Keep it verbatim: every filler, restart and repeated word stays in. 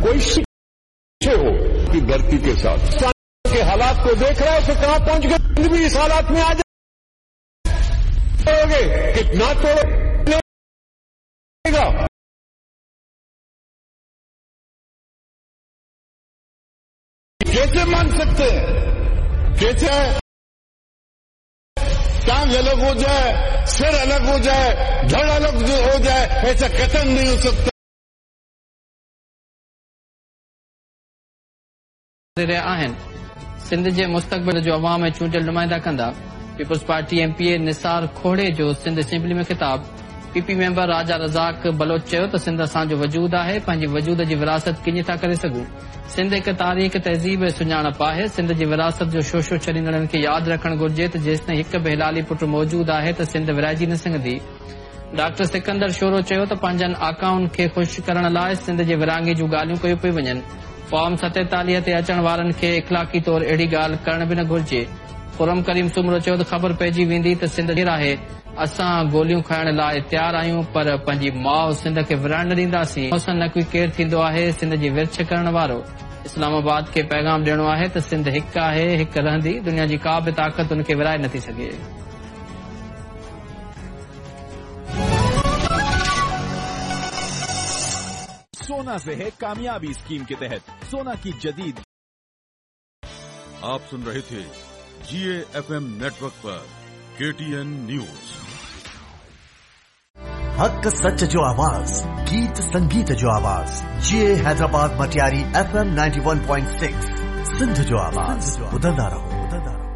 कोई शिकवे हो की धरती के साथ के हालात को देख रहा है तो कहां पहुंच गए, भी इस हालात में आ जाओगे कितना तोड़ेगा। कैसे मान सकते हैं, कैसे टांग अलग हो जाए, सिर अलग हो जाए, धड़ अलग हो जाए, ऐसा कतई नहीं हो सकता। रहिया आहिनि। सिंध जे मुस्तक़बिल जो अवाम ऐं चूंडियल नुमाइंदा कंदा। Peoples Party M P A Nisar Khuhro जो सिंध असेंबली में ख़िताब। पीपी मेंबर राजा रज़ाक बलोच चयो त सिंध असांजो वजूद आहे, पंहिंजी वजूद जी विरासत कीअं था करे सघूं। सिंध हिकु तारीख़, तहज़ीब ऐं सुञाणप आहे। सिंध जी विरासत जो शोशो छॾींदड़नि खे यादि रखणु घुरिजे त जेसिताईं हिकु बि हिलाली पुट मौजूदु आहे त सिंध विराइजी न सघंदी। डॉक्टर सिकंदर शोरो चयो त पंहिंजनि आकाउनि खे ख़ुशि करण लाइ सिंध जे विराङे जूं ॻाल्हियूं कयूं पयूं वञनि। फॉर्म सतेतालीह ते अचण वारनि खे इख़लाक़ी तौर अहिड़ी ॻाल्हि करण बि न घुरिजे। खुरम करीम सुमरो चयो त ख़बर पइजी वेंदी त सिंध केरु आहे, असां गोलियूं खाइण लाइ तयारु आहियूं पर पंहिंजी माउ सिंध खे विराइण न ॾींदासीं। मोहसिन नकवी केरु थींदो आहे सिंध जी विर्छ करण वारो? इस्लामाबाद खे पैगाम ॾियणो आहे त सिंध हिकु आहे, हिकु रहंदी, दुनिया जी का बि ताक़त उनखे विराए नथी सघे। सोना से है कामयाबी स्कीम के तहत सोना की जदीद। आप सुन रहे थे जी ए एफ एम नेटवर्क पर के टी एन न्यूज। हक सच जो आवाज, गीत संगीत जो आवाज, G A Hyderabad Matiari F M ninety one point six Sindh जो आवाज। ॿुधंदा रहो।